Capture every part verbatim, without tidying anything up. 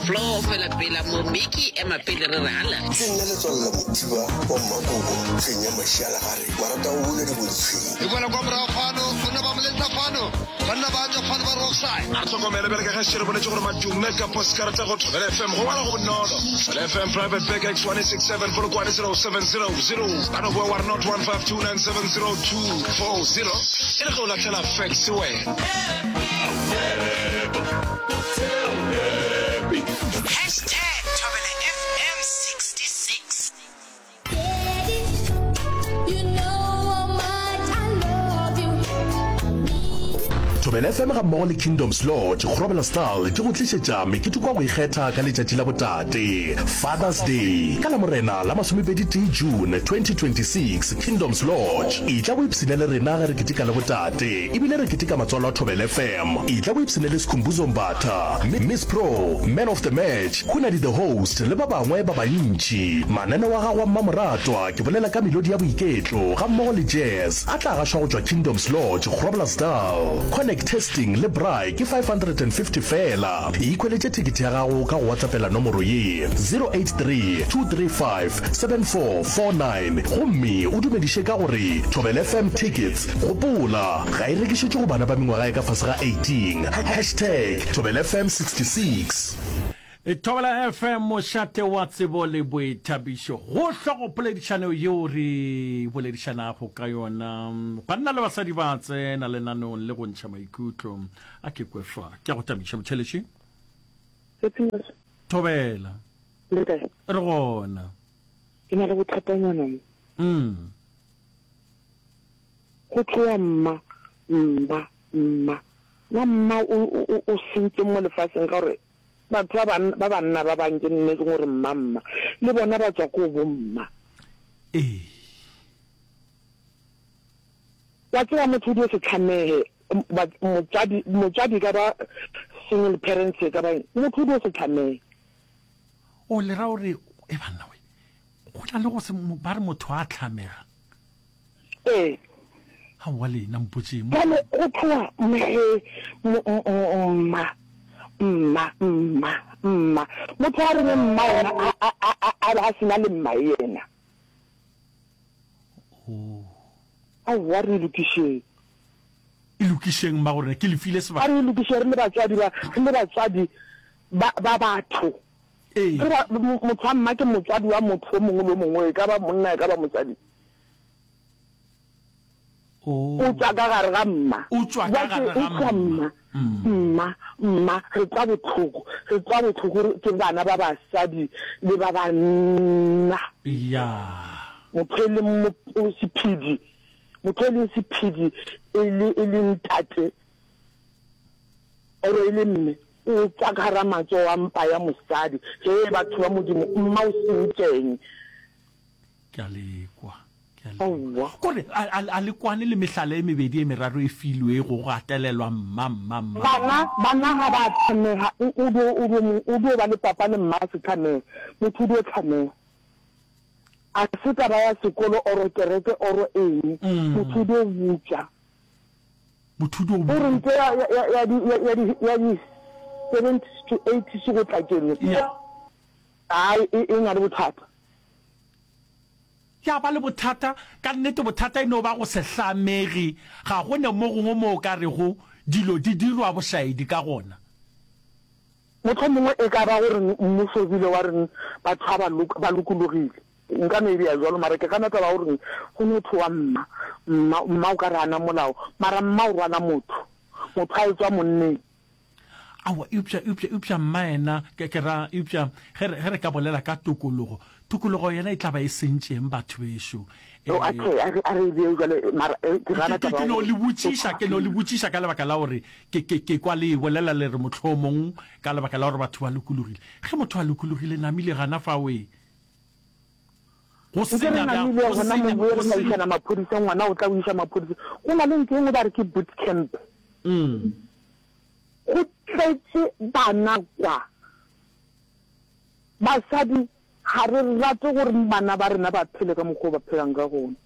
Flo fela pela mo Mickey ema pele re re ala. Ke nna Letswalo la Mothiba wa Mmakobo, hleng ya Mašialagare, wa rata go buna diboditshweng. E boela kwa morago fano, banna ba moletsa fano, banna ba tšwa fano ba re offside. A re hlokomele bjale ka ge šetše re boletše gore madume ka poskarata go Thobela F M go ngwala go bonolo. Thobela F M Private Bag X one six seven Polokwane zero seven zero zero. Ba no boa wa re not one five two nine seven zero two four zero e le ge o lahlela fax wena. Hashtag Thobela F M sixty-six. Thobela F M ga mmogo le Kingdoms Lodge, Groblersdal di go tlišetša meketeko ya go ikgetha ka letšatši la botate, Father's Day, ka Lamorena la masomepedi tee June twenty twenty-six, Kingdoms Lodge. Etla o ipshine le rena ge re keteka le botate ebile re keteka matswalo a Thobela F M. Etla o ipshine le Skhumbuzo Mbatha, Miss Pro, Man of the Match, Hunadi the Host le ba bangwe ba bantši. Mananeo a gago a mmamoratwa, ke bolela ka melodi ya boiketlo ga mmogo le jazz, a tla gašwa go tšwa Kingdoms Lodge, Groblersdal. Connect Testing le braai ke five hundred and fifty feela. Ikhweletše thekethe ya gago ka go WhatsAppela nomoro ye, zero eight three, two three five, seven four four nine gomme o dumediše ka gore Thobela F M Tickets. Gopola, ga e rekišetšwe go bana ba mengwaga ya ka fase ga eighteen. Hashtag Thobela F M sixty-six. Thobela F M, mošate wa tsebo le boithabišo. Go hlogopoledišano yeo re boledišanago ka yona. Banna le basadi ba tsena lenaneong le go ntšha maikutlo. A ke kwe fa. Ke a go tamiša motheletši. Thobela. Le kae? Re gona. Ke na le bothatanyana mo. Mm. Go tloa mma, mma, mma. Na mma o, o, o sentse mo lefaseng ka gore batho ba banna, ba banna ba bang ke nne ke gore mma, mma. Le bona ba tswa ko bo mma. Ee. Wa tseba motho o dio se tlhamehe, ba, motswadi, motswadi ka ba single parents e ka ba eng, motho o dio se tlhamehe. O le ra gore, e banna we, go na le go se, ba re motho a tlhamega. Ee. Aowa lena mpotšeng. Bjale go tloga mhe, mma, mma, mma, mma. Motho a reng mma yena a, a, a, a, a be a se na le mma yena. Oh. Aowa re e lokišeng. E lokišeng mma gore ke le file sebaka. A re e lokišeng re le batswadi ba, re le batswadi ba, ba batho. Ee. Re ba, motho wa mma ke motswadi wa motho o mongwe le o mongwe, e ka ba monna, e ka ba mosadi. O O tšwa ka gare ga mma. O tšwa ka gare ga mma. Mma, mma, mma, re kwa bohloko. Re kwa bohloko re ke bana ba basadi le ba banna. Ya. Motho e leng mo, sephedi, motho e leng sephedi e le, e le ntate or e le mme, o tšwa ka gara matsogo a mpa ya mosadi. Hee batho ba Modimo, mma o sentšeng? Ke a le kwa. Ke a le kwa. Kore a, a, a le kwane le mehlala e mebedi e meraro e filwego go gatelelwa mma, mma, mma. Bana, bana ga ba tlhamega, o, o dio, o dio, o dio ba le papa le mma a se tlhamege. Motho o dio tlhamega. A se taba ya sekolo oro kereke oro eng. Motho o dio butša. Motho o dio O re ntho ya, ya, ya, ya di, ya, ya di, ya di seventies to eighties go tla keno. Ya. Ai, e, e na le bothata. Ya ba le bothata, ka nnete bothata e no ba go se hlamege, ga go ne mo gongwe mo o ka rego dilo di dirwa bošaedi ka gona. Mohlomongwe e ka ba gore mmušo o bile wa reng batho ga ba loka, ba lokologile. Nka no e bea bjalo, mara ke gana taba ya gore go no thowa mma, mma, mma o ka re ana molao, mara mma o rwala motho, motho a etšwa monneng. Aowa, eupša, eupša, eupša mma yena, ke, ke ra, eupša ge re, ge re ka bolela ka tokologo, tokologo yena e tla ba e sentšeng batho bešo. Oh, a ke, a re, a re e bee bjale, mara, eh, ke gana Ke, ke, taba ke ya no gore le botšiša, ke no le botšiša ka lebaka la gore ke, ke, ke kwa le e bolela le re mohlomong ka lebaka la gore batho ba lokologile. Ge motho a lokologile, namile gana fao e. Go Nke re senya bjang, namile go gona mo senya, boye go re na senya. išana maphodisa, ngwana o tla o iša maphodisa. Go na le ntho e nngwe ba re ke boot camp. Mm. Go tletše bana kwa. Basadi ga re rate gore bana ba rena ba phele ka mokgwa o ba phelang ka gona.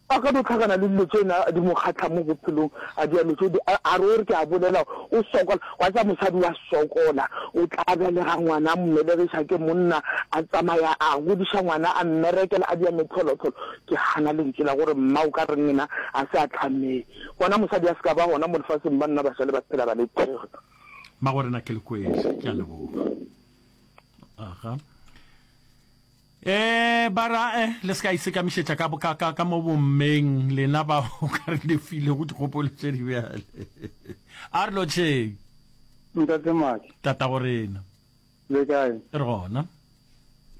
A ka no hlakana le dilo tše na di mo kgahla mo bophelong, a dira dilo tšeo di, a, a re o re ke a bolela, o sokola, wa tseba mosadi wa sokola, o tla belega ngwana, a mmelegiša ke monna, a tsamaya a godiša ngwana, a mmerekela, a dira mehlolohlolo. Ke gana lentšu la gore mma o ka reng yena a se a hlamee. Gona mosadi a se ka ba gona mo lefaseng, banna ba šale ba phela ba le tee. Mmagorena ke le kwele, ke a leboga. Aga. Eh, ba ra eh, le se ka isekamišetša ka, ka, ka, ka mo bommeng lena ba o ka re le filego dikgopolo tše di bjale. A re lotšheng. Ntate Maki. Tatago rena. Le kae? Re gona.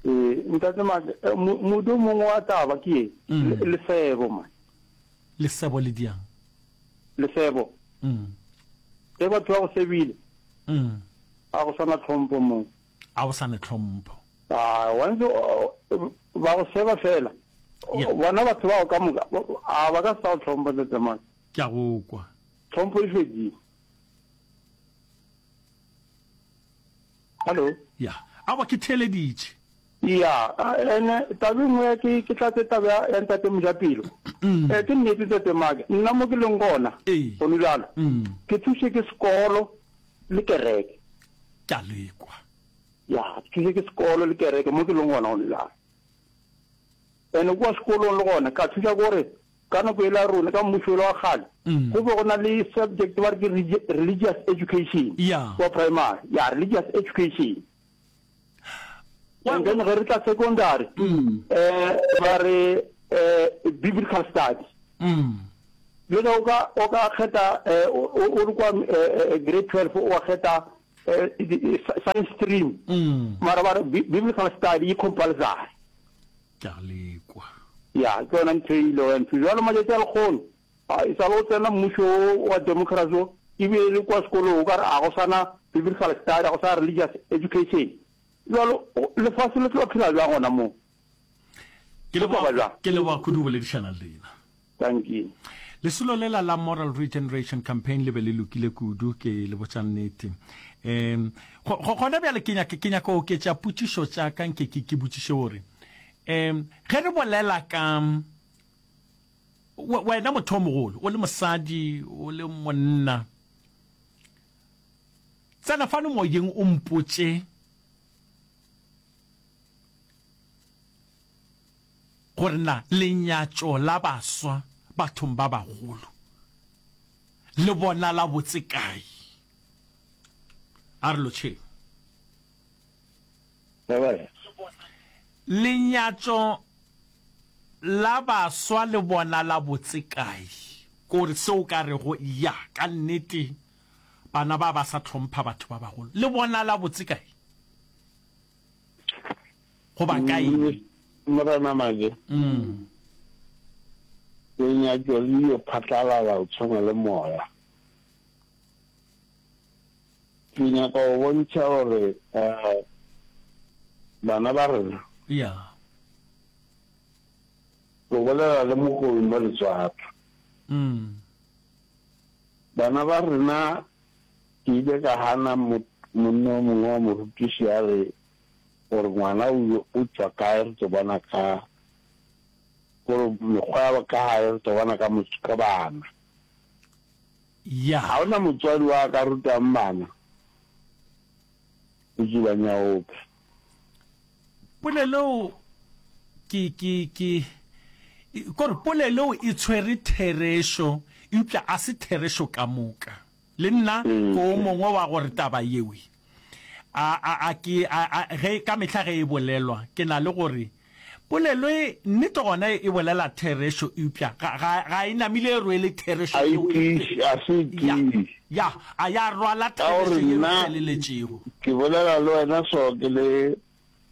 Ee, Ntate Maki, eh, modu o mongwe wa taba ke ye, mm. lesebo man. Lesebo le diang? Lesebo. Mm. Ge batho ba go sebile. Mm. A go sana tlhompho mo. A go sana tlhompho. A wa ntse ba go seba fela. Bona batho bao ka moka a ba ka se sa go tlhompha Ntate Maki. Ke a go kwa. Tlhompho e fedile. Hallo? Ya. Aowa ke theeleditše. Ya, ene taba e nngwe ke ke tlatse taba ya, ya Ntate Mojapelo. Mm. Eh, ke nnete Ntate Maki, nna mo ke leng gona, Ee. gone bjalo, Mm. ke thuše ke sekolo le kereke. Ke a le kwa. Ya, ke thuše ke sekolo le kereke mo ke leng gona gone bjalo. Ene kua sekolong le gona ka thuša ke gore ka nako ela ya rona ka mmušo ola wa kgale Mm. go be go na le subject ba re ke religious education Ya. kua primary, ya religious education. Wa- And then ge re tla secondary Mm. eh ba re eh biblical study. Mm. Bjale o ka o ka kgetha eh o o le kwa eh, eh, grade twelve o wa kgetha eh, science stream. Mm. Mara ba re biblical study e compulsory. Ke a lekwa. Ya, ke yona ntho e ilego ya nthuša. Bjalo matšatši a lekgono, a e sa le go tsena mmušo wo wa democracy wo, e bile le kwa sekolong o ka re a go sa na biblical study, a go sa religious education. Bjalo lefase le tlo phela bjang gona moo? Ke leboga, ke leboga kudu go boledišana le lena. Dankie. Lesolo lela la Moral Regeneration Campaign le be le lokile kudu, ke le botša nnete. Um, go, go, gona bjale ke nyaka, ke nyaka go oketša potšišo tša ka nke ke, ke botšiše gore, um, ge re bolela ka, we, wena motho o mogolo, o le mosadi, o le monna, tsena fano moyeng o mpotše, Gore na lenyatšo la baswa bathong ba bagolo le bonala botse kae? A re lotšheng. Lenyatšo la baswa le bonala botse kae? Kore se o ka rego, ya, ka nnete bana ba ba sa hlompha batho ba bagolo, le bonala botse kae? Goba ka eng? Morena Maje, lenyatšo le yo phatlalala go tshwana le moya. Ke nyaka go bontšha gore bana ba rena. Ya. Ke bolela le mokobi mo Letswatla. Bana ba rena, ke ile ka gana monna o mongwe wa morutiši a re gore ngwana o o tšwa kae re tlo bona ka gore mekgwa ya ka gae re tlo bona ka ka bana. Ya. Ga ona motswadi wa ka rutang bana go tsuba nyaope. Polelo ke ke ke kore polelo e tshwere therešo eupša a se therešo ka moka. Le nna ke o mongwe wa gore taba yewe a, a, a ke, a, a, ge, ka mehla ge e bolelwa, ke na le gore, polelo e, nnete gona e bolela therešo, eupša ga, ga, ga e namile e rwele therešo A e yeo e, tiiše, a se e ya, tiiše. ya, a ya rwala Ka gore therešo yeo e nna feleletšego. ke bolela le wena so ke le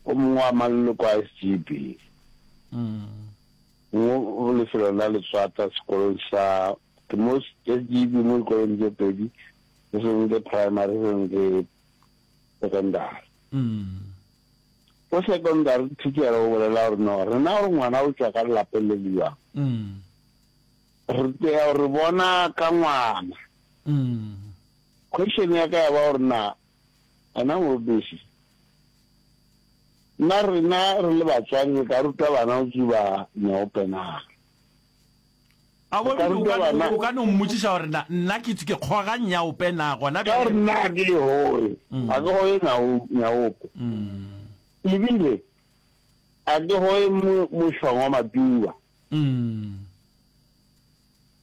o mongwe wa maloko a S G B mo lefelong la Letswata sekolong sa, ke mo S G B mo dikolong tše pedi, se sengwe ke primary, se sengwe ke secondary. Ko secondary teacher o bolela gore no, rena gore ngwana o tšwa ka lelapeng le le bjang, re tea re bona ka ngwana. Question ya ka ya ba gore na wena morutiši, na rena re le batswadi re ka ruta bana go tsuba nyaope na? A bo ebile o ka no mmotšiša gore na nna ke ke kgoga nyaope na gona bjale. Ka gore nna ga ke e goge, ga ke goge nyaope. Ebile ga ke goge mošwang wa matuba.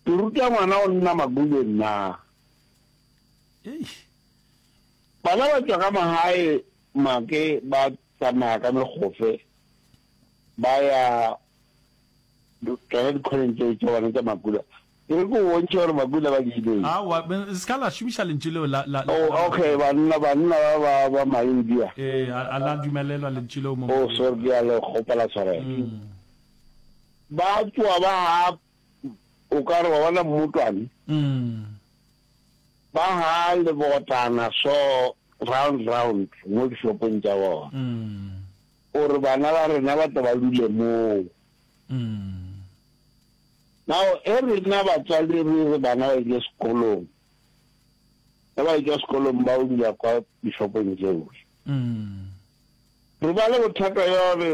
Ke ruta ngwana go nna makuleng na? Bana ba tšwa ka magae make ba tsamaya ka megofe ba ya tšona dikgoneng tšeo tša bona tša makula. Ke re ke o bontšhe gore makula ba diileng. Aowa, se ka la šomiša lentšu leo la, la, la. Oh, okay, banna, banna ba, ba, ba Maindia. Ee, a, a la dumelelwa lentšu leo mo. Oh, sorry, ke a le kgopela tshwarelo. Ba tšwa ba ha, o ka re wa bona mmotwane. Ba ha lebotana so, round, round, mo dishopong tša bona. O re bana ba rena ba tle ba dule moo. Now, ge rena batswadi re re bana ba ile sekolong, ge ba etšwa sekolong ba o dula kwa dishopong tšeo, re ba le bothata bja gore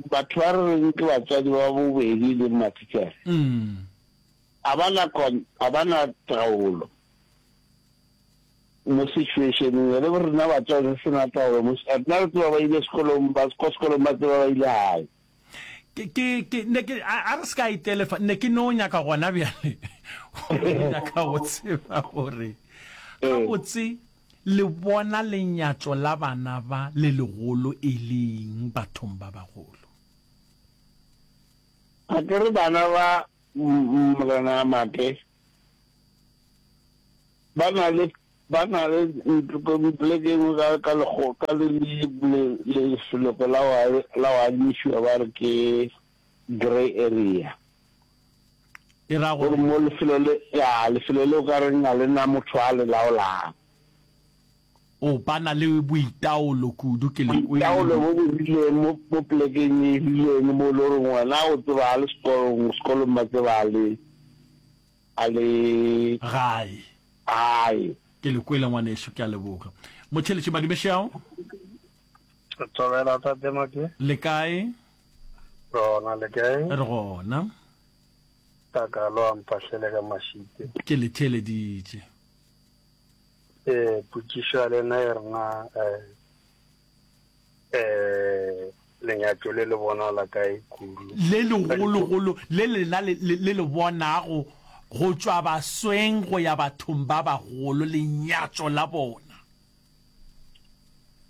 batho ba re reng ke batswadi ba bobedi le mathitšhere, ga ba na ga ba na taolo mo situationeng ye. Le rena batswadi re se na taolo mo, rena re tseba ba ile sekolong, ba kwa sekolong ba tseba ba ile gae. Ke, ke, ke, ne ke, a, a re se ka itelefa, ne ke no nyaka gona bjale, go nyaka go tseba gore gabotse le bona lenyatšo la bana ba le legolo e leng bathong ba bagolo. Ga ke re bana ba Morena Make ba na le Ba na le poleke e nngwe ka, ka lekgo, ka le, le, le, lefeloko la go, la go adimišiwa ba re ke grey area. E ra gore mo lefelo le, ya, lefelo le o ka reng ga le na motho a le laolang. O, ba na le boitaolo kudu, ke le kwele. Boitaolo bo bo rileng mo, mo polekeng e rileng mo e le goreng wena o tseba a le sekolong, sekolong ba tseba a le, a le. Gae. Gae. Ke le kwele ngwanešu, ke a leboga. Motheeletši Madumešao. Thobela tate Make. Le kae? Re gona, le kae? Re gona. Takalo a mpahlele ka mašite. Ke le theeleditše. Eh, potšišo ya lena e rena eh, eh, lenyatšo le le bonala kae kudu? Le legologolo le lena le, le, le le bonago go tšwa basweng go ya bathong ba bagolo, lenyatšo la bona.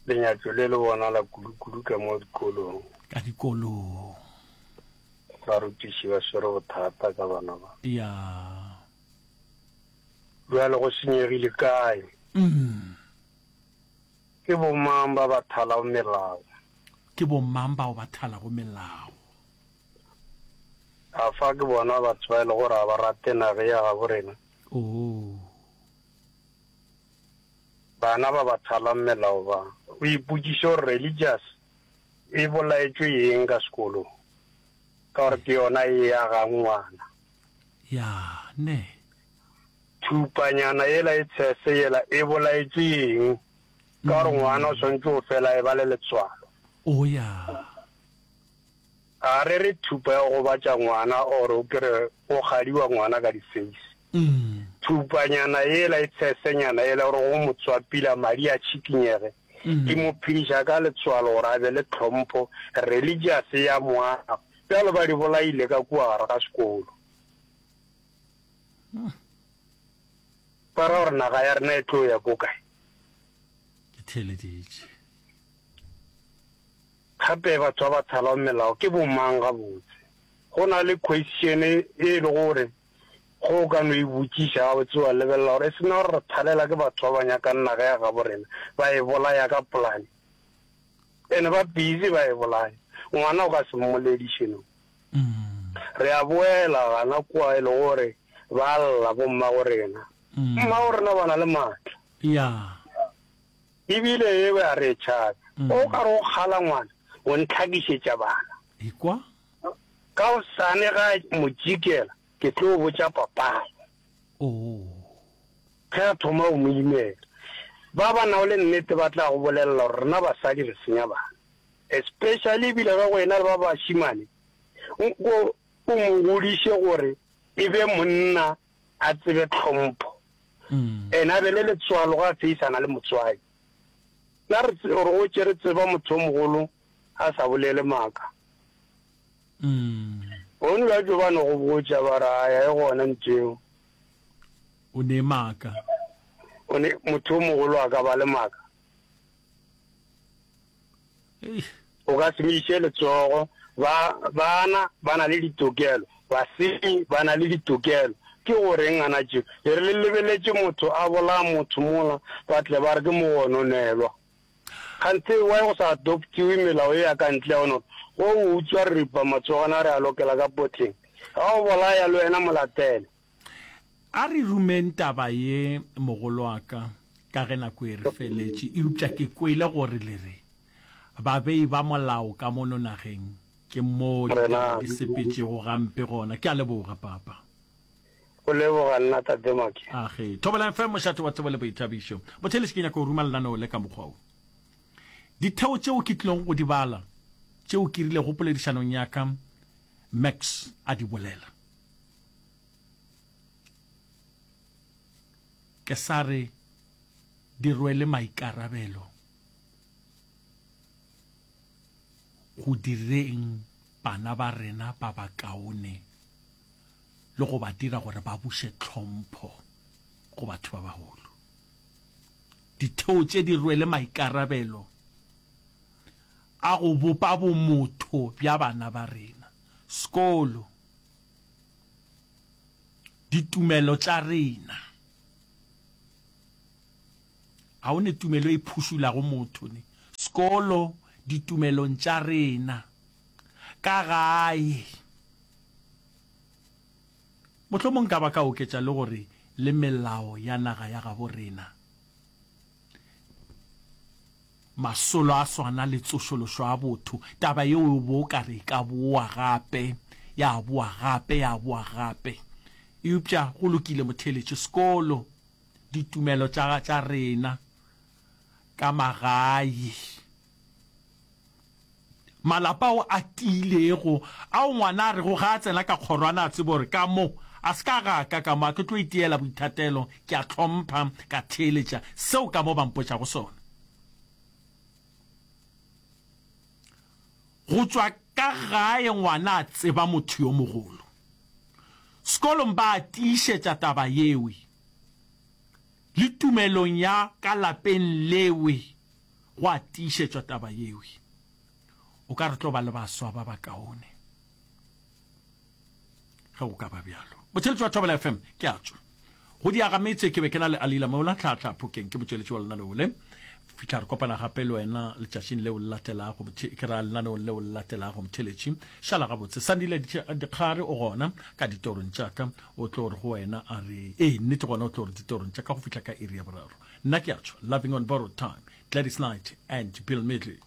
Lenyatšo le le bonala kudu-kudu ka mo dikolong. Ka dikolong. Barutiši ba swere bothata ka bana ba. Ya. Bjale go senyegile kae? Mm. Ke bomang ba ba thalago melao? Ke bomang bao ba thalago melao? Afa ke bona batho ba e lego gore ga ba rate naga ya gabo rena? Oo. Bana ba ba thalang melao ba. O ipotšiše gore religious e bolaetšwe eng ka sekolong, ka gore ke yona e agang ngwana. Ya, ne. Thupanyana yela e tshese yela e bolaetšwe eng? Ka gore ngwana o swanetše go fela a eba le letswalo. O ya. A re re thupa ya go gobatša ngwana or o kere go kgadiwa ngwana ka di face. Thupanyana yela e tshesenyana yela gore go mo tswapila madi a tšhikinyege e mo phediša ka letswalo gore a be le tlhompho, religious ya mo aga. Bjalo ba di bolaile ka kua gare ga sekolo. Ba ra gore naga ya rena e tlo ya ko kae? Ke theeleditše. Gape batho ba ba thalago melao ke bomang gabotse? Go na le question e e lego gore ge o ka no e botšiša gabotse wa lebelela gore e se na gore re thalela ke batho ba ba nyakang naga ya gabo rena ba e bolaya ka polane. Ene ba busy ba e bolaya. Ngwana o ka se mmolediše no. Re a boela gana kua e lego gore ba lla bommago rena. Mmago rena ba na le maatla. Ya. Ebile eo a re tšhabe. O ka re o kgala ngwana, o ntlhakišetša bana. Ekwa. Ka hosane ga a mo tšikela, ke tlo botša papago. Oo. Ge a thoma go mo imela. Ba ba nago le nnete ba tla go bolelela gore rena basadi re senya bana. Especially ebile ge go ena le ba bašemane, o, o mo godiše gore E be monna a tsebe tlhompho. Ene a be le letswalo ge a feisana le motswadi. Na re re gotše re tseba motho o mogolo a sa bolele maaka? Gone bjalo ba no go botša ba re, Aya e gona ntho eo. O ne maaka. O ne, motho o mogolo a ka ba le maaka? O ka se mo iše letsogo. Ba, bana ba na le ditokelo. Basenyi ba na le ditokelo. Ke go reng ana tšeo? E re le lebeletše motho a bolaya motho mola, ba tle ba re ke mogononelwa. Kganthe why go sa adoptiwe melao ye ya ka ntle ya go no re go o utswa re ripa matsogwana re a lokela ka potleng. Ga o bolaya le wena mo latele. A re rumeng taba ye mogolwaka ka ge nako e re feletše, eupša ke kwele gore le re babei ba molao ka mono nageng ke moo ditaba di sepetšego gampe gona. Ke a leboga, Papa. Go leboga nna, Tate Maki. Age. Thobela F M, mošate wa tsebo le boithabišo. Botheeletši, ke nyaka go ruma lenaneo le ka mokgwa wo. Ditheo tšeo ke tlilego go di bala, tšeo ke rilego poledišanong ya ka Max a di bolela. Ke sa re di rwele maikarabelo go direng bana ba rena ba bakaone le go ba dira gore ba buše tlhompho go batho ba bagolo. Ditheo tše di rwele maikarabelo a go bopa bomotho bja bana ba rena. Sekolo. Ditumelo tša rena. Ga o ne tumelo e phušulago motho ne. Sekolo, ditumelong tša rena. Ka gae. Mohlomong nka ba ka oketša le gore le melao ya naga ya gabo rena. Masolo a swana le tsošološo a botho, taba yeo o bo o ka re e ka boa gape, ya boa gape, ya boa gape. Eupša go lokile, motheeletši, sekolo, ditumelo tša, tša rena ka magae, malapa ao a tiilego, ao ngwana a rego ge a tsena ka kgorwana a tsebe gore ka mo, a se ka ga ka ka mo, a ke tlo itiela boithatelo, ke a hlompha, ka theeletša seo ka mo ba mpotšago sona. Go tšwa ka gae ngwana a tseba motho yo mogolo. Sekolong ba a tiišetša taba yewe. Le tumelong ya ka lapeng lewe go a tiišetšwa taba yewe. O ka re tlo ba le baswa ba bakaone ge go ka ba bjalo. Motheeletši wa Thobela F M, ke a tšwa. Go diaga metse ke be ke na le Alila Mola, Tlhahla Phokeng, ke motšweletši wa lenaneo le. Fihla re kopana gape le wena letšatšing leo le latelago, ke ra lenaneong leo le latelago, motheeletši. Šala gabotse. Sandile Dikgare o gona ka ditorong tša ka, o tlo re go wena a re, ee, nnete gona o tlo re ditorong tša ka go fihla ka iri ya boraro. Nna ke a tšwa. Loving on Borrowed Time, Gladys Knight and Bill Medley.